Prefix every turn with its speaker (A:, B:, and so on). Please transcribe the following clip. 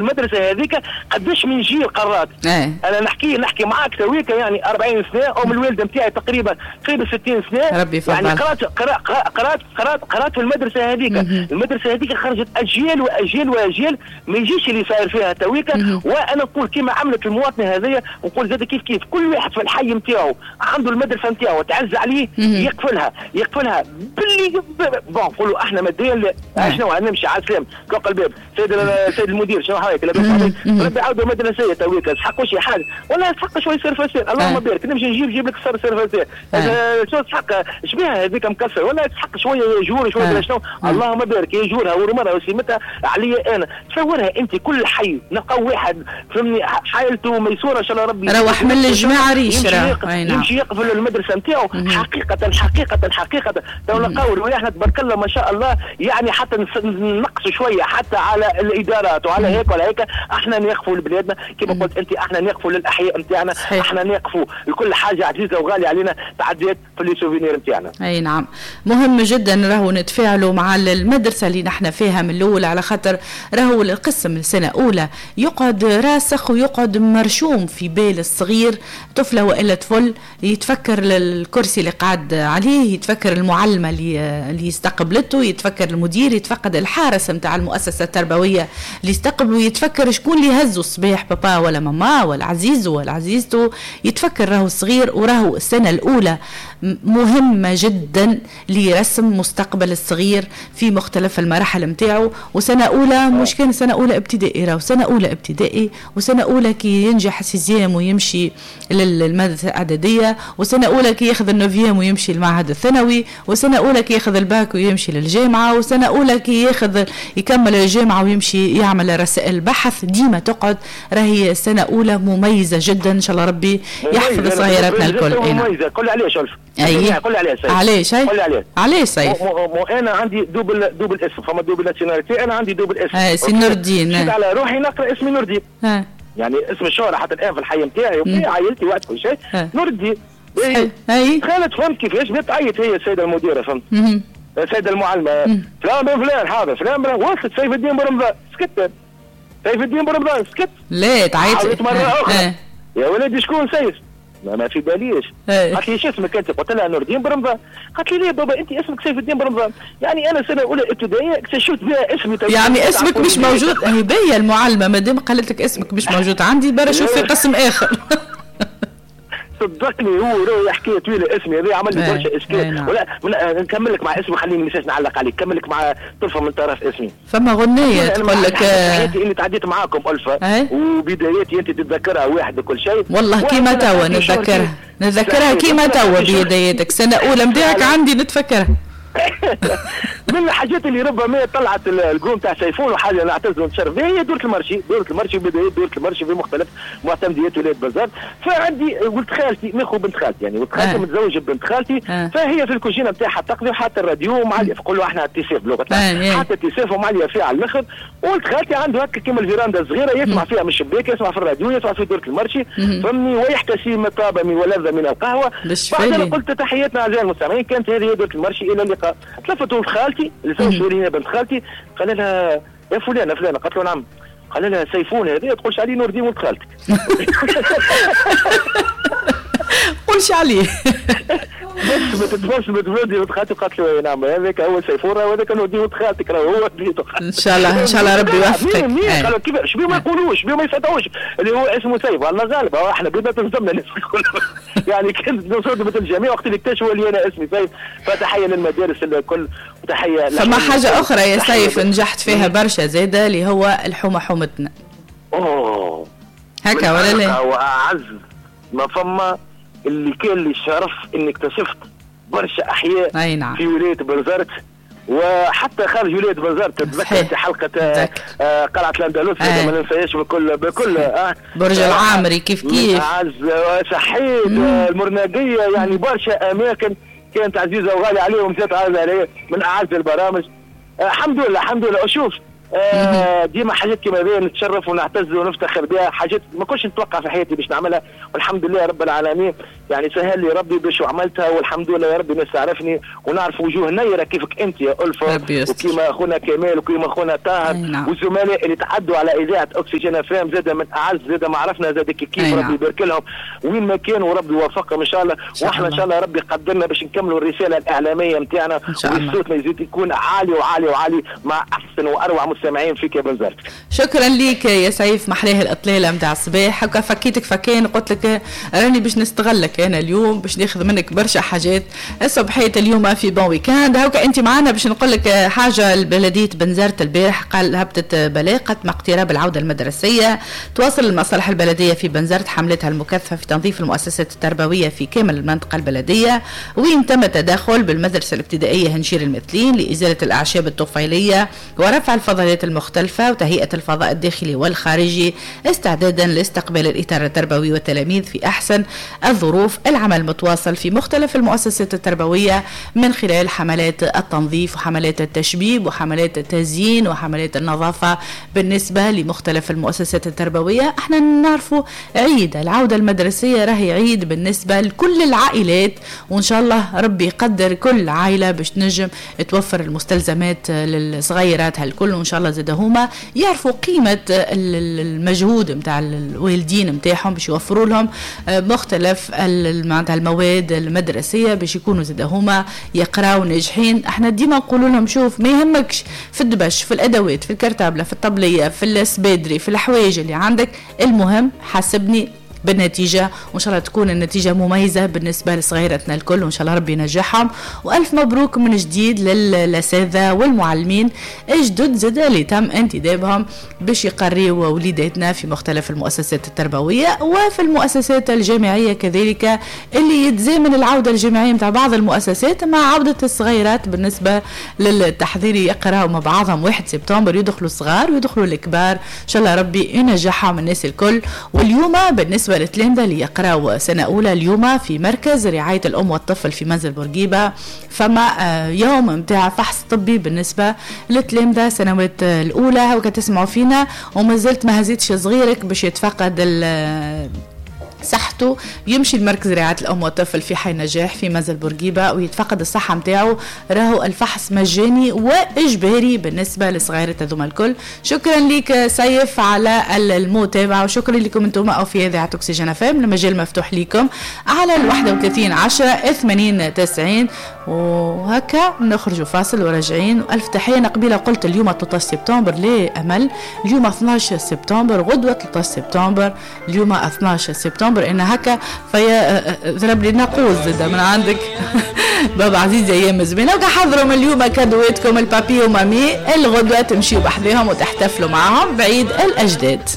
A: المدرسة هذيك قداش من جيل قرات. انا نحكي معاك تويكا يعني 40 سنة، ام الوالدة نتاعي تقريبا قريب 60 سنة،
B: ربي
A: يعني قرات قرات قرات قرات في المدرسة هذيك. المدرسة هذيك خرجت اجيال واجيال واجيال، ما يجيش اللي صاير فيها تويكا. وانا نقول كما عملت المواطنة هذيا، نقول زاد كيف كيف كل واحد في الحي نتاعو عنده المدرسة نتاعو تعز عليه يقفلها باللي bon نقولوا احنا ماديا شنو نمشي على السلام طلق الباب سيد المدير شنو حالك لاباس عليك ربي عاودوا مدرسيه تويكا تسحقوا شي حاجة ولا تسحق شوية surface اللهم بارك نمشي نجيب لك surface شنو تسحق شبيها هذيك مكسر ولا تسحق شوية يجور شوية شنو اللهم بارك يجورها ورمرها وسيمتها عليا انا. تصورها انت كل حي نلقاو واحد فهمني حالته ميسوره ان شاء الله ربي
B: روح من الجماعة ريش
A: يمشي يقفل المدرسة نتاعو. حقيقة حقيقة حقيقة تو نلقاو رواحنا تبارك الله ما شاء الله، يعني حتى نقصوا شوية حتى على الادارات وعلى هيك وعلى هيك. احنا نقفوا لبلادنا كما قلت انت، احنا نقفوا للاحياء نتاعنا، احنا نقفوا لكل حاجة عزيزه وغاليه علينا تعديت في les souvenirs نتاعنا.
B: اي نعم، مهم جدا راهو نتفاعلوا مع المدرسة اللي نحن فيها من الاول، على خاطر راهو القسم السنة الاولى يقعد راسخ ويقعد مرشوم في بال الصغير، طفله والا طفل يتفكر الكرسي اللي قعد عليه، يتفكر المعلمة اللي استقبلته، يتفكر المدير، يتفقد الحارس نتاع المؤسسة التربوية اللي استقبله، يتفكر شكون اللي هزوا الصباح بابا ولا ماما ولا عزيزه ولا عزيزته، يتفكر راهو الصغير. وراهو السنة الاولى مهمة جدا لرسم مستقبل الصغير في مختلف المراحل نتاعو. وسنة اولى مش كان سنة اولى ابتدائي، راهو سنة اولى ابتدائي وسنة اولى كي ينجح sixième ويمشي للمدرسة الاعدادية، وسنة اولى كي ياخذ ال neuvième ويمشي للمعهد الثانوي، وسنة اولى كي ياخذ الباك ويمشي للجامعة، وسنة اولى كي ياخذ يكمل الجامعة ويمشي يعمل رسائل بحث. ديما تقعد راهي سنة اولى مميزة جدا، ان شاء الله ربي يحفظ صغيراتنا الكل.
A: مميزة. قول لي علاش ألف؟ قول لي علاش؟
B: علاش؟ قول لي علاش؟ علاش سيف؟
A: انا عندي double اسم، فما double nationalité، انا عندي double اسم.
B: سي نور الدين.
A: مشيت على روحي نقرا اسمي نور الدين. يعني اسم الشهرة حتى الان في الحي نتاعي وفي عائلتي وقت كل شيء نور الدين. اي خالد فهمت كيفاش بدات تعيط هي السيدة المديرة، فهمت؟ السيدة المعلمة فلان بن فلان حاضر فلان بن وصلت سيف الدين بن رمضان سكت، سيف الدين بن رمضان سكت.
B: لا تعيط
A: مرة اخرى يا ولدي شكون سيف؟ ما في باليش. قالت لي شو اسمك انت؟ قلت لها نور الدين برمضان. قالت لي ليه بابا انت اسمك سيف الدين برمضان؟ يعني انا سنة اولى ابتدائية اكتشفت بها اسمي.
B: يعني اسمك مش موجود. هي باهيه المعلمة مادام قالت لك اسمك مش موجود عندي برا شوف في قسم اخر.
A: صدقني هو راهي حكاية طويلة اسمي هذا عمل لي برشا اشكال. ولا نكمل لك مع اسمي، خليني مش نعلق عليك، كمل لك مع طرفه من طرف اسمي.
B: فما غنية تقول لك
A: حياتي اللي تعديت معاكم الفا وبداياتي انت تتذكرها واحد وكل شيء.
B: والله كيما توا نتذكرها كيما توا بداياتك سنة اولى نتاعك عندي نتفكرها.
A: من الحاجات اللي ربما طلعت القوم تاع سيفون وحاجه نعتز ونتشرف بها هي دورة ال marché. دورة ال marché بداية دورة ال marché في مختلف معتمديات ولاية بنزرت. فعندي ولد خالتي ماخو بنت خالتي، يعني ولد خالتي متزوج بنت خالتي، فهي في الكوجينه نتاعها تقضي وحاطه الراديو ومعليه، نقولوا احنا التيسيف بلغتنا، حاطه التيسيف ومعليه فيها على الاخر. ولد خالتي عنده هكا كيما الفيراندا الصغيرة يسمع فيها من الشباك، يسمع في الراديو، يسمع في دورة ال marché، فهمني، ويحتسي ما طاب ولذ من القهوة. بعدين قلت تحياتنا اعزائي المستمعين، كانت هذه دورة ال marché، الى اللقاء. تلفت ولد خالتي اللي زوج بنت خالتي، قال لها يا فلانه فلانه، قالت له نعم. قال لها سيفون هذا تقولش عليه نور الدين ولد خالتك.
B: قولش عليه.
A: بس ما تبدي ولد خالتي. قالت له نعم هذاك هو سيفون وهذاك نور الدين ولد خالتك، راه هو.
B: ان شاء الله ان شاء الله ربي يوفقك.
A: قالوا كيف شبيه ما يقولوش، شبيه ما يصدقوش اللي هو اسمه سيف. الله غالب احنا بدنا تنظمنا الناس الكل. يعني كانت صدمة الجميع وقت اللي اكتشفوا اللي انا اسمي سيف. فتحيه للمدارس الكل وتحية.
B: فما حاجة اخرى يا سيف نجحت فيها برشا زاده اللي هو الحومه حومتنا.
A: اوه
B: هكا ولا لا؟
A: واعز ما فما اللي كان لي الشرف اني اكتشفت برشا احياء
B: نعم.
A: في ولاية بنزرت وحتى خارج ولاية بنزرت. تتذكر حلقة قلعه الاندلس ما ننساهاش بكل
B: برج العامري كيف كيف
A: عز صحيت المرناقيه، يعني برشا اماكن كانت عزيزه وغاليه عليهم، زاد عزيزه علي من اعز البرامج. الحمد لله الحمد لله. شوف ديما حاجات كيما هذه نتشرف ونعتز ونفتخر بها، حاجات ما كنتش نتوقع في حياتي باش نعملها، والحمد لله رب العالمين يعني سهل لي ربي باش وعملتها، والحمد لله يا ربي الناس تعرفني ونعرف وجوه نيره كيفك انت يا ألفة، وكيما اخونا كمال وكيما اخونا طاهر والزملاء اللي تعدوا على اذاعة اكسجين FM، زاد من اعز زاد ما عرفنا زاد كيف ربي يبارك لهم وين ما كانوا وربي يوفقهم ان شاء الله. واحنا ان شاء الله ربي قدرنا باش نكملوا الرسالة الاعلامية نتاعنا، وصوتنا يزيد يكون عالي وعالي وعالي مع احسن واروع مستمعين فيك يا بنزرت.
B: شكرا ليك يا سيف، محلاه الاطلاله نتاع الصباح، هكا فكيتك فكان قلت لك راني باش نستغلك انا اليوم باش ناخذ منك برشا حاجات الصبحية اليوم في bon week-end. هكا انت معنا باش نقول لك حاجة، البلدية بنزرت البارح قال هبطت بلاغه مع اقتراب العودة المدرسية، تواصل المصالح البلدية في بنزرت حملتها المكثفة في تنظيف المؤسسات التربوية في كامل المنطقة البلدية، وين تم التدخل بالمدرسة الابتدائية هنشير المثلين لازالة الاعشاب الطفيليه ورفع الفضلات المختلفة وتهيئه الفضاء الداخلي والخارجي استعدادا لاستقبال الاطار التربوي والتلاميذ في احسن الظروف. العمل متواصل في مختلف المؤسسات التربوية من خلال حملات التنظيف وحملات التشبيب وحملات التزيين وحملات النظافة بالنسبة لمختلف المؤسسات التربوية. احنا نعرفوا عيد العودة المدرسية راهي عيد بالنسبة لكل العائلات، وان شاء الله ربي يقدر كل عائلة باش تنجم توفر المستلزمات للصغيرات هالكل، وان شاء الله زاد هما يعرفوا قيمة المجهود نتاع الوالدين نتاعهم باش يوفروا لهم مختلف معناتها المواد المدرسية باش يكونوا زاد هما يقراوا ناجحين. احنا ديما نقولوا لهم شوف ما يهمكش في الدبش، في الادوات، في الكرتابله، في الطبلية، في السبادري، في الحوايج اللي عندك، المهم حاسبني بالنتيجة، وإن شاء الله تكون النتيجة مميزة بالنسبة لصغيرتنا الكل، وإن شاء الله ربي ينجحهم. وألف مبروك من جديد للأساتذة والمعلمين الجدد زاد اللي تم انتدابهم باش يقريوا وليداتنا في مختلف المؤسسات التربوية وفي المؤسسات الجامعية كذلك، اللي يتزامن العودة الجامعية متاع بعض المؤسسات مع عودة الصغيرات بالنسبة للتحضير، يقراوا مع بعضهم 1 سبتمبر، يدخلوا الصغار ويدخلوا الكبار، إن شاء الله ربي ينجحهم الناس الكل. واليوم بالنسبة للتلامذة اللي يقراوا سنة أولى اليوم في مركز رعاية الأم والطفل في منزل بورقيبة، فما يوم متاع فحص طبي بالنسبة للتلامذة سنوات الأولى، وكتسمعوا فينا وما زلت ما هزيتش صغيرك باش يتفقد صحته، يمشي لمركز رعاية الأم والطفل في حي نجاح في منزل بورقيبة ويتفقد الصحة متاعه، راهو الفحص مجاني وإجباري بالنسبة لصغيرة هذوما الكل. شكرا لك سيف على المتابعة، وشكرا لكم انتم أو في إذاعة أكسجين FM، المجال مفتوح لكم على 31 10 80 90. وهكا نخرجوا فاصل وراجعين. وألف تحية قبيلة قلت اليوم 13 سبتمبر، ليه أمل؟ اليوم 12 سبتمبر، غدوة 13 سبتمبر، اليوم 12 سبتمبر. إن هكا فيا ضرب لي ناقوس زاد من عندك بابا عزيز أيام زمينة. وحضروا من اليوم كادواتكم البابي ومامي، الغدوة تمشيوا بحذاهم وتحتفلوا معهم بعيد الأجداد.